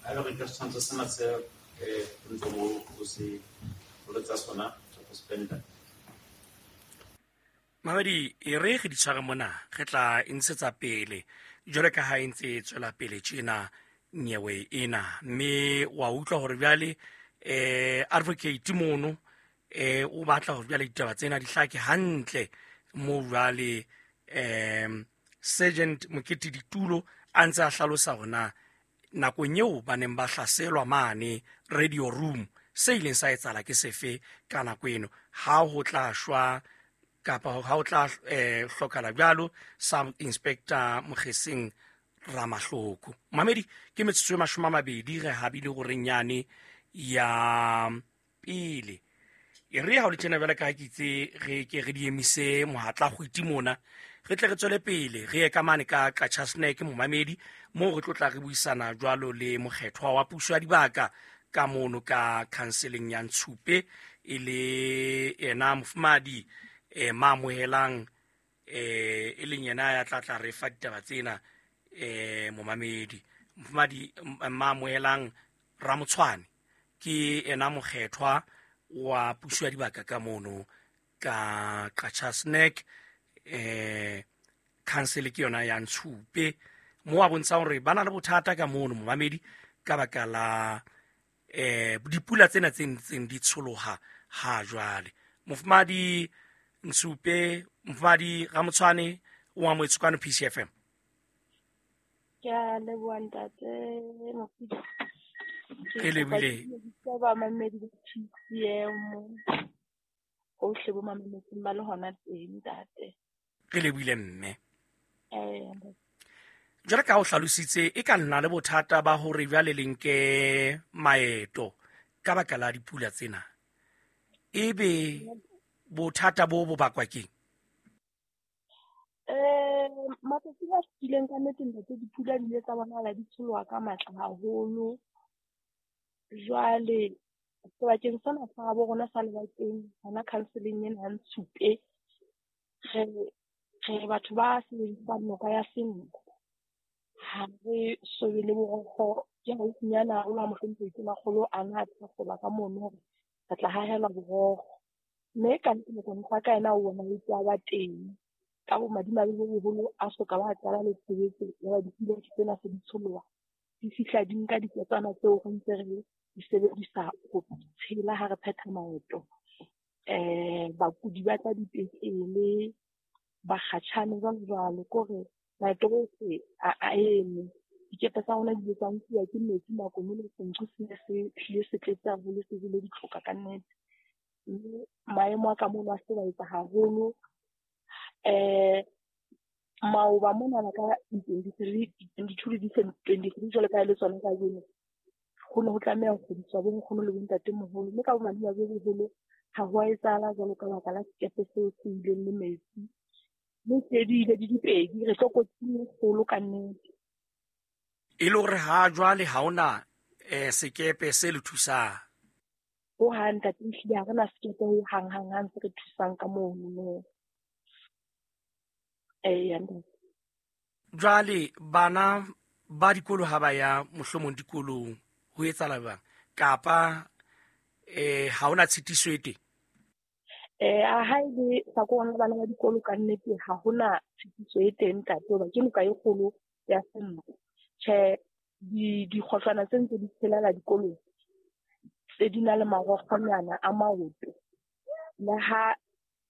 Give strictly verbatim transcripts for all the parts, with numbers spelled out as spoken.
Ha ele hore ke setshwantsho sena se eh o ntseng o o se o le tsa sona tsa go spenda. Mamedi, e re re di tshware mona, re tla e ntshetsa pele jwale ka ha e ntse e tswela pele tjena nyewe ena, mme wa utlwa hore jwale eh advocate mono eh o batla hore jwale ditaba tsena di hlake hantle mo jwale em Sergeant Mokete Ditulo a ntse a hlalosa hore na nakong eo ba neng ba hlaselwa mane radio room se ileng sa etsahala ke sefe ka nako eno, ha ho tla shwa kapa ha ho tla eh hlokahala jwalo Sub Inspector Mokgeseng Ramahloko. Mamedi, ke metsotso e mashome a mabedi re habile horeng yane ya pele. E re ha o le tjena jwale ka ha ke itse re ke re di emise mohatla kgwiti mona, re tle re tswele pele re ye ka mane ka Qacha's Nek momamedi, moo re tlo tla re buisana jwalo le mokgethwa wa puso ya dibaka ka mono ka counseling ya Ntshupe, e le yena mofumahadi eh Mamohelang eh e leng yena ya tla tla re fa ditaba tsena eh momamedi. Mofumahadi Mamohelang Ramotshwane ke yena mokgethwa wa puso ya dibaka ka mono ka Qacha's Nek, eh council ke yona ya Ntshupe, mo a bontshang hore ba na le bothata ka mono momamedi ka baka la eh dipula tsena tse ntseng di tsholoha ha jwale. Mofumahadi Ntshupe, Mofumahadi Ramotshwane o amohetswe kwano P C F M. Ke a leboha ntate Mofidi. Ke lebohile. Ke ba mamedi ba P C M hohle bo mametseng ba le hona teng ntate. Re lebohile mme. Eh, Jwale ka o hlalositse e ka nna le bothata ba hore jwale le nke maeto ka baka la dipula tsena. Ebe bothata bo bo bakwa keng? Eh, matsatsing a fetileng ka nnete ntate dipula di ile tsa bonahala di tsholoha ka matla haholo. Jwale sebakeng sena sa habo rona sa Lebakeng, hona counseling ena ya Ntshupe, re re batho ba sebedisang noka ya Senqu. Ha re so be le borokgo, ke haufinyana haholo ha mohlomphehi Tonakgolo a na a thakgola ka mono hore re tla hahelwa borokgo. Mme ka nnete mokontlaka ka yena o bonahetse a ba teng. Ka bomadimabe bo boholo a soka ba qala le tshebetso ya ba dipula ke tsena se di tsholoha. Di fihla di nka diketswana tseo re ntse re di sebedisa ho tshela ha re phetha maeto. Eh, bakudi ba tla dipetlele, bakgatjhane jwalo jwalo, ke hore maeto ohle a, a eme. Dikepe tsa rona di ile tsa nkuwa ke metsi nakong eno, Senqu se ne se hlile se tletse haholo, se jele ditlhoka ka nnete. Mme maemo a ka mono a hlobaetsa haholo. Eh, maoba monana ka di-twenty-three, di-twenty-two le di-twenty-three jwalo ka ha e le tsona kajeno, ho ne ho tlameha ho kgudiswa bo nkgono le bontatemoholo, mme ka bomadimabe bo boholo ha ho a etsahala jwalo ka baka la sekepe seo se ileng le metsi. Mme se di ile di dipedi, re tlokotsing e kgolo ka nnete. E le hore ha jwale ha hona eh sekepe se le thusang? Ho hang ntate, ehlile ha rena sekepe ho hang, hang, hang se re thusang ka mono, no. Eya, ntate. Jwale bana ba dikolo ha ba ya mohlomong dikolong ho etsahala jwang? Kapa eh ha hona tshitiso e teng? Eh, a ha e le hlakoreng la bana ba dikolo ka nnete ha hona tshitiso e teng ntate, hoba ke noka e kgolo ya Senqu. Tjhe, di-, dikgohlwana tse ntse di tshelela dikolong tse di na le marokgonyana a maoto. Le ha,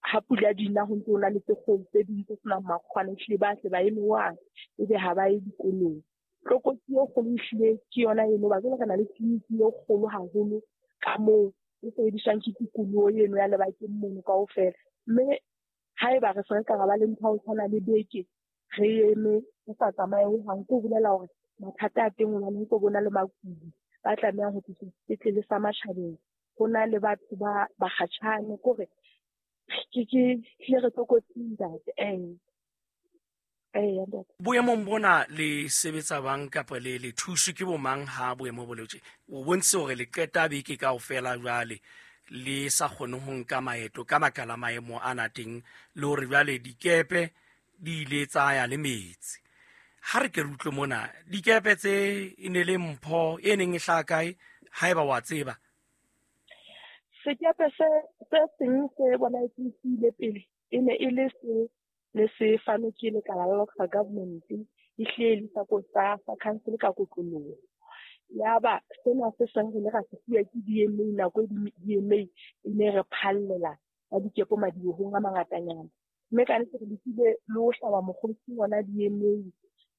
ha pula di na ho ntse ho na le tse kgolo tse ding tse senang makgwana, ehlile ba tle ba eme wa, ebe ha ba ye dikolong. Tlokotsi e kgolo ehlile ke yona eno, hoba jwale re na le tleliniki e kgolo haholo ka moo e sebediswang ke tikoloho eno ya Lebakeng mono kaofela. Mme haeba re se re ka ra ba le ntho ya ho tshwana le beke, re eme re sa tsamaye hohang, ke ho bolela hore mathata a teng hobane ho tlo bona le bakudi ba tlamehang ho tliswa sepetlele sa matjhabeng. Ho na le batho ba bakgatjhane, ke hore ke, ke hlile re tlokotsing ntate. Eh. Eh, ntate. Boemong bona le sebetsa bang kapa le, le thuswe ke bo mang ha boemo bo le tje? O bontshitse hore le qeta beke kaofela jwale le sa kgone ho nka maeto ka baka la maemo a na teng, le hore jwale dikepe di ile tsa ya le metsi. Ha re ke re utlwe mona dikepe tse e ne le mpho e neng e hlaha kae, haeba wa tseba? Sekepe se se seng se bonahetseng se ile pele e ne e le se ne se fanwe ke lekala la local government, e hlile le sa sa sa council ka kotloloho. Yaba sena se seng re ile ra se fuwa ke D M A nako e D M A e ne re phallela ka dikepo madibohong a mangatanyana. Mme ka nnete re lekile le ho hlaba mokgosi hona D M A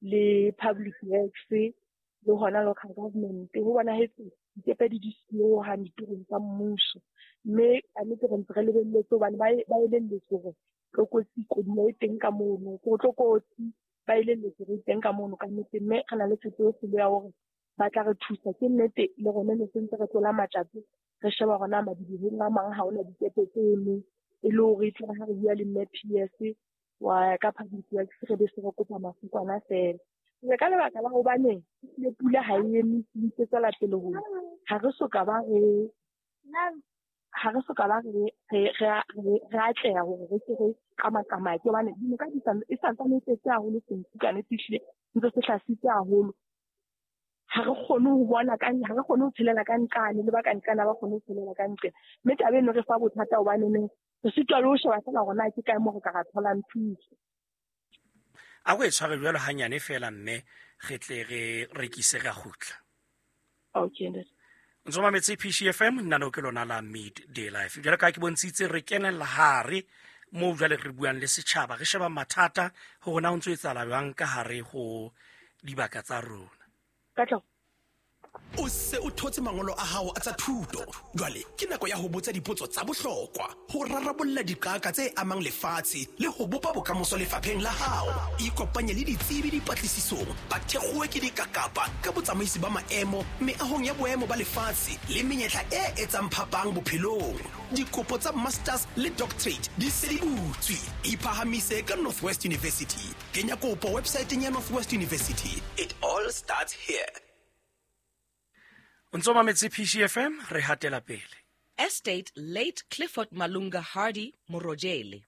le Public Works le hona local government. Ho bonahetse dikepe di di siyo hohang ditorong tsa mmuso. Mme ka nnete re ntse re lebelletse hobane ba ba elelletswe hore tlokotsi koduwa e teng ka mono, ko tlokotsi ba elelletswe hore e teng ka mono ka nnete. Mme re na le tshepo e kgolo ya hore ba tla re thusa. Ke nnete le rona ne se ntse re tlola matjato, re sheba hore na madibohong a mang ha hona dikepe tse emeng, e le hore e tle ha re bua le mme P S wa ka Public Works re be se re kopa mafukwana feela. Jwale ka lebaka la hobane le pula ha e eme, e tswela pele ho ha re soka ba re ha re soka ba re re re atleha hore re se re qamaqamake, hobane dinoka di sa e santsane e tletse haholo, senku ka nnete ehlile ntse se hlasitse haholo. Ha re kgone ho bona ka, ha re kgone ho tshelela ka nqane, le ba ka nqane ha ba kgone ho tshelela ka nqe. Mme taba eno re fa bothata hobane neng re sitwa le ho sheba feela hore na ke kae moo re ka ra tholang thuso. A ko e tshware jwalo hanyane feela mme re tle re rekise ra kgutla. Okay, ntate. Ntso mametse P C F M, nna no ke lona la Midday Life. Jwalo ka ke bontshitse re kenella hare moo jwale re buang le setjhaba, re sheba mathata hore na ho ntso etsahala jwang ka hare ho dibaka tsa rona. Katlego. O se o thotse mangolo a hao a tsa thuto. Jwale ke nako ya ho botsa dipotso tsa bohlokwa, ho rarabolla diqaka tse amang lefatshe le ho bopa bokamoso lefapheng la hao. Ikopanye le ditsebi dipatlisisong, ba thekgowe ke dikakapa ka botsamaisi ba maemo meahong ya boemo ba lefatshe le menyetla e etsang phapang bophelong. Dikopo tsa masters le doctorate di se di butswe. Iphahamise ka Northwest University. Kenya kopo websiteng ya Northwest University. It all starts here. O ntso mametse P C F M, re hatela pele. Estate late Clifford Malunga Hardy Morojele.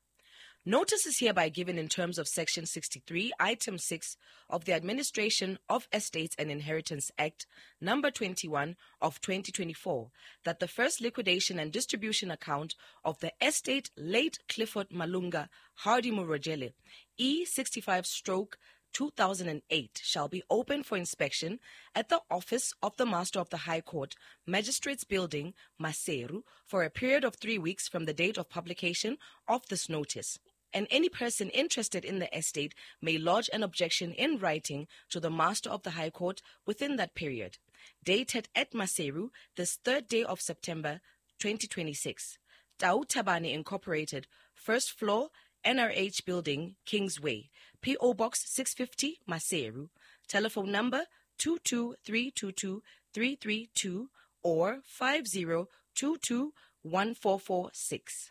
Notice is hereby given in terms of Section sixty-three, Item six of the Administration of Estates and Inheritance Act, number twenty-one of twenty twenty-four, that the first liquidation and distribution account of the estate late Clifford Malunga Hardy Morojele, E sixty-five stroke two thousand eight, shall be open for inspection at the office of the Master of the High Court, Magistrates Building, Maseru, for a period of three weeks from the date of publication of this notice. And any person interested in the estate may lodge an objection in writing to the Master of the High Court within that period. Dated at Maseru, this third day of September, twenty twenty-six. Tau Tabane Incorporated, first floor, N R H Building, Kingsway, P O Box six fifty, Maseru. Telephone number two two three two two three three two or five zero two two one four four six.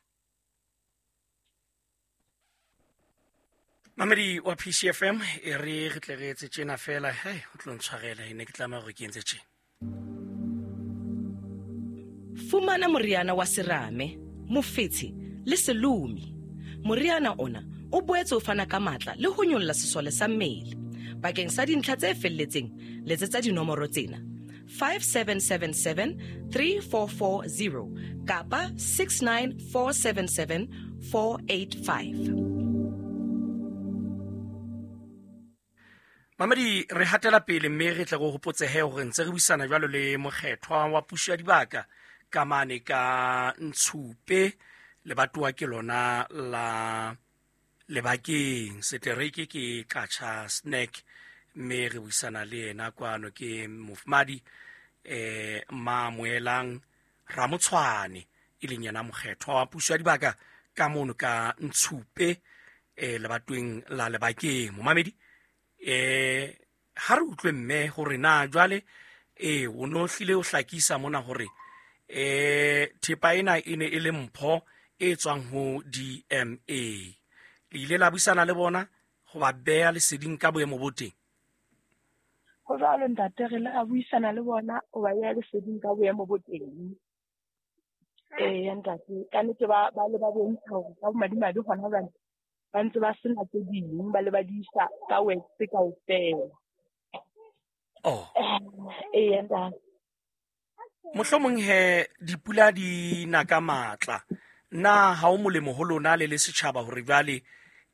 Mamedi wa P C F M, e re re tle re etse tjena fela, hei, o tlo ntshwarela, e ne ke tlameha hore ke entse tjena. Fumana moriana wa serame, mofetshe le selumi. Moriana ona o boetse o fana ka matla le ho nyolla sesole sa mmele. Bakeng sa dintlha tse felletseng, letsetsa dinomoro tsena: five seven seven seven three four four zero kapa six nine four seven seven four eight five. Mamedi, re hatela pele mme re tle re hopotsehe hore ntse re buisana jwalo le mokgethwa wa puso ya dibaka ka mane ka Ntshupe, lebatowa ke lona la Lebakeng, setereke ke Qacha Snack, mme re buisana le yena kwano ke mofumadi eh Mamoelang Ramotshwane, e leng yena mokgethwa wa puso ya dibaka ka mono ka Ntshupe, eh lebatoweng la Lebakeng. Momamedi, eh ha re utlwe mme hore na jwale eh o no hlile o hlakisa mona hore eh thepa ena e ne e le mpho e tswang ho D M A. Le ile la buisana le bona ho ba beha leseding ka boemo bo teng? Ho jwalo ntate, re le ra buisana le bona ho ba beha leseding ka boemo bo teng. Eh ntate, ka nnete ba ba le ba bontsha hore ka bomadimabe hona jwale Ba ntse ba sena tse ding, ba le ba di isa ka wax kaofela. Oh. Eya ntate. Mohlomong he dipula di na ka matla. Na ha o molemo ho lona le le setjhaba hore jwale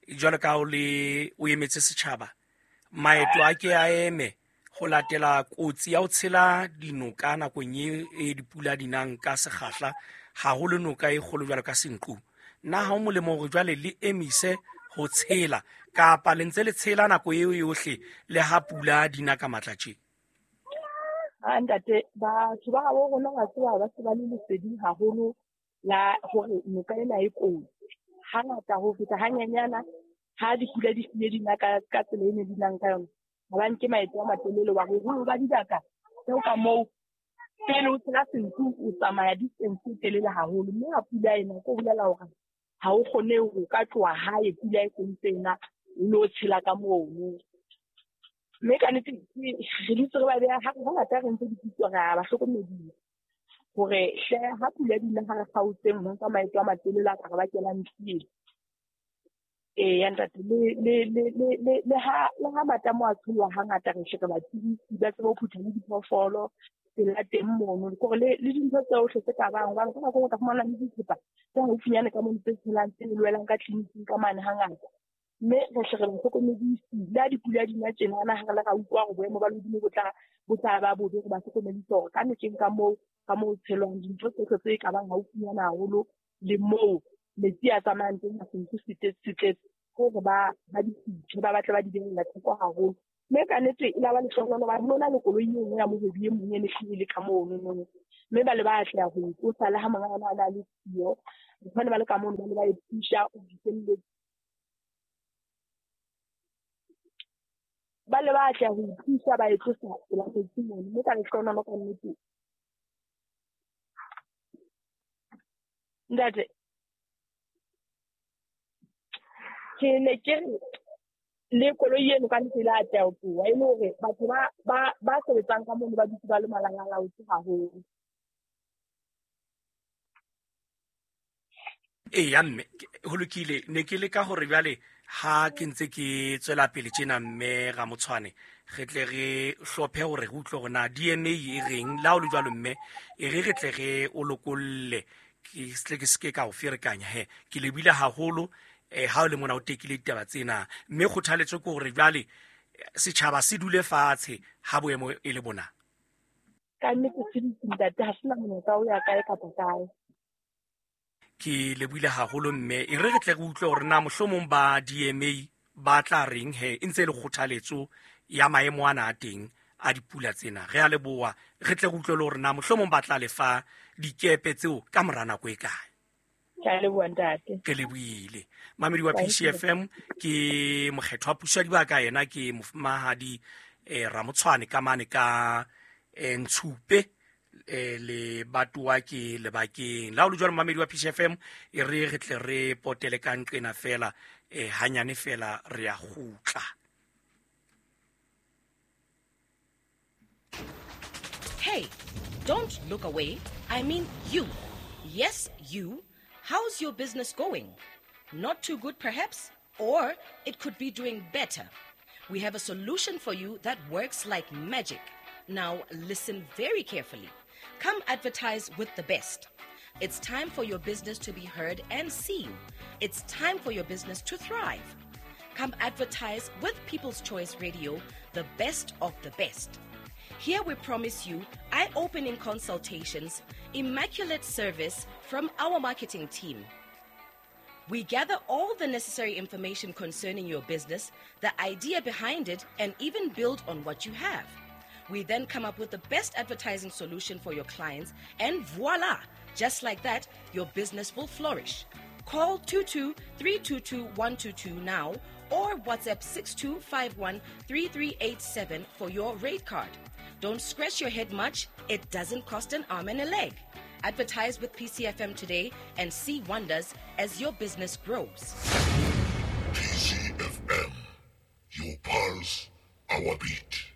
jwalo ka o le o emetse setjhaba maeto a ke a eme ho latela kotsi ya ho tshela dinoka nakong e e dipula di nang ka sekgahla haholo noka e kgolo jwalo ka Senqu. Na ha o molemo hore jwale le emise ho tshela kapa le ntse le tshela nako eo yohle le ha pula di na ka matla tje? Ha ntate, batho ba habo rona wa tseba ba se ba le leseding haholo la hore noka ena e kotsi. Hangata ho feta hanyenyana ha dipula di hlile di na ka ka tsela e ne di nang ka yona. Ha ba nke maeto a matelele wa boholo ba dibaka tseo ka moo pele o tshela Senqu o tsamaya distance e telele haholo, mme ha pula ena ko bolela hore ha o kgone ho ka tloha hae pula e sentse ena o lo tshela ka mono. Mme ka nnete re dutse re ba beha ha hangata re ntse dipitso re a ba hlokomedisa hore hle ha pula di na ha re kgaotseng ho nka maeto a matelele a ka re bakelang tsietsi. Eya ntate, le le le le le le ha le ha matamo a tshollwa hangata re hle re ba tsebise ba tsebe ho phutha le diphoofolo tsela teng mono, kore le le dintho tsohle tse ka bang hobane ka nako e nngwe o tla fumana le dithepa tse haufinyane ka mono tse tshelang tse lwelang ka tleliniking ka mane hangata. Mme re hle re ba hlokomedise le ha dipula di na tjenana ha re le ra utlwa hore boemo ba lehodimo bo tla bo tla ba bobe, re ba hlokomedise hore ka nokeng ka moo ka moo tshelwang dintho tsohle tse ka bang haufinyana haholo le moo metsi a tsamayang teng ha Senqu se tletse hore ba ba di phuthe, ba batle ba di behella thoko haholo. Mme ka nnete e la ba lehlohonolo hobane ho na le koloi e nngwe ya mohwebi e mong e ne hlile e le ka mono no. Mme ba le ba atleha ho e tlosa le ha monga yona a ne a le siyo. Batho ba ne ba le ka mono ba ne ba e pusha ho fihlelletse. Ba le ba atleha ho e pusha ba e tlosa pela metsi mono. Mme ka lehlohonolo ka nnete. Ntate, ke ne ke re le koloi eno ka nnete e la atleha ho tloha, e le hore batho ba ba ba sebetsang ka mono ba dutse ba le malalalaotse haholo. Eya mme, ho lokile. Ne ke leka hore jwale ha ke ntse ke tswela pele tjena mme Ramotshwane, re tle re hlophe hore re utlwe hore na D M A e reng. Le ha ho le jwalo mme, e re re tle re o lokolle, ke tle ke seke ka o ferekanya he. Ke lebile haholo eh ha o le mona o tekile ditaba tsena, mme kgothaletso ke hore jwale setjhaba se dule fatshe ha boemo e le bona. Ka nnete se dutse ntate, ha sena monyetla o ya kae kapa kae. Ke lebohile haholo mme, e re re tle re utlwe hore na mohlomong ba D M A ba tla reng he, e ntse e le kgothaletso ya maemo ana a teng a dipula tsena. Re a leboha, re tle re utlwe le hore na mohlomong ba tla lefa dikepe tseo ka mora nako e kae. Ke a leboha ntate. Ke lebohile. Mamedi wa P C F M ke mokgethwa puso ya dibaka, yena ke mofumahadi eh Ramotshwane ka mane ka eh, Ntshupe eh, le batuwa ke lebakeng. La ho le jwalo mamedi wa P C F M, e re re tle re potele ka nqena fela eh hanyane fela re a kgutla. Hey, don't look away. I mean you. Yes, you. How's your business going? Not too good, perhaps, or it could be doing better. We have a solution for you that works like magic. Now, listen very carefully. Come advertise with the best. It's time for your business to be heard and seen. It's time for your business to thrive. Come advertise with People's Choice Radio, the best of the best. Here we promise you eye-opening consultations, immaculate service from our marketing team. We gather all the necessary information concerning your business, the idea behind it, and even build on what you have. We then come up with the best advertising solution for your clients, and voila! Just like that, your business will flourish. Call two two three two two one two two now or WhatsApp six two five one three three eight seven for your rate card. Don't scratch your head much. It doesn't cost an arm and a leg. Advertise with P C F M today and see wonders as your business grows. P C F M, your pulse, our beat.